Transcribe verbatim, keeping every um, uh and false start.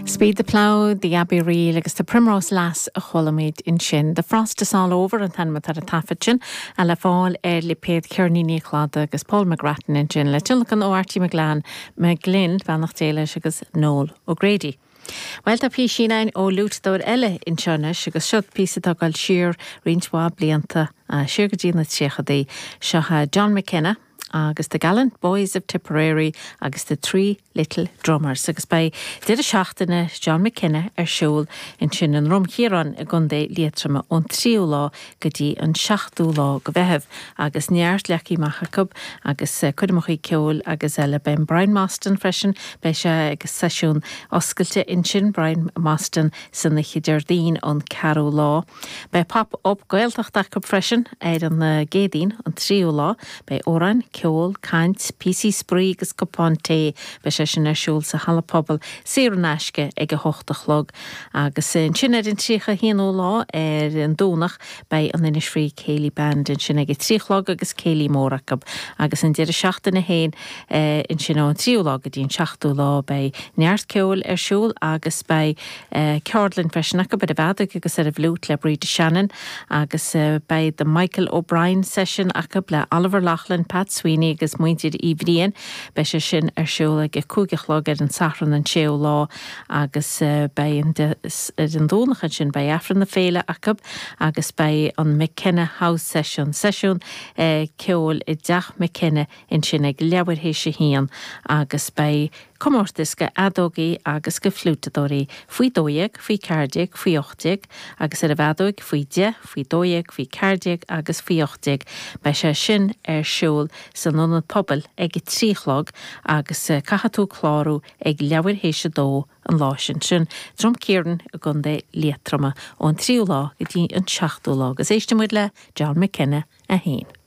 Speed the Plough, The Abbey Reel agus The Primrose Lass a chuala muid ansin. The Frost is All Over an t-ainm atá ar an taifead sin a le fáil ar lipéad Ceirníní Clada agus Paul McGrattan ansin le tionlacan ó Archie McGlann McGlynn beannacht Dé leis agus Noel O'Grady. Well tá píosa againn ó fhliúiteadóir eile anseo anois agus seo píosa atá ag dul siar roinnt mhaith blianta siar go dtí na tríochadaí seo John McKenna agus the Gallant Boys of Tipperary agus the Three Little Drummers agus beidh deireadh seachtaine John McKenna ar siúl ansin i nDroim Chiaráin i gContae Liatroma ón tríú lá go dtí an seachtú lá de Mheitheamh agus neart leagtha amach acu agus coirmeacha ceoil agus eile beidh Brian Mostyn freisin beidh sé ag seisiún oscailte ansin Brian Mostyn san oíche Déardaoin an ceathrú lá. Beidh pop-up Gaeltacht acu freisin ar an gCéadaoin an tríú lá, beidh amhráin, ceol, caint, píosaí spraoi agus cupán tae beidh sé sin ar siúl sa halla pobail saor in aisce ag a hocht a chlog agus sin ar an tríocha haonú lá ar an Domhnach beidh an Innisfree Céilí Band ansin ag a trí a chlog agus céilí mór acu agus an deireadh seachtaine féin ansin ón tríú lá go dtí an seachtú lá beidh neart ceoil ar siúl agus beidh ceardlann freisin acu ar an bhfeadóg agus ar an bhfliúit le Bríd Shannon agus beidh the Michael O'Brien session acu le Oliver Loughlin, Pat Sweeney agus muintir Uí Bhriain beidh sé sin ar siúl ag cúig a chlog ar an Satharn an séú lá agus beidh ar an Domhnach ansin beidh Aifreann na féile acu agus beidh an McKenna House session seisiún ceoil i dteach McKenna ansin ag leathuair théis a haon agus beidh comórtas do fheadógaí agus do fhliúiteadóirí faoi dó dhéag, faoi ceathair déag, faoi ocht déag, agus ar an bhfeadóg faoi deich, faoi dó dhéag, faoi ceathair déag agus faoi ocht déag. Beidh sé sin ar siúl san ionad pobail ag a trí a chlog agus caithfidh tú clárú ag leathuair théis a dó an lá sin sin Droim Chiaráin i gContae Liatroma ón tríú lá go dtí an seachtú lá agus éistfidh muid le John McKenna a haon.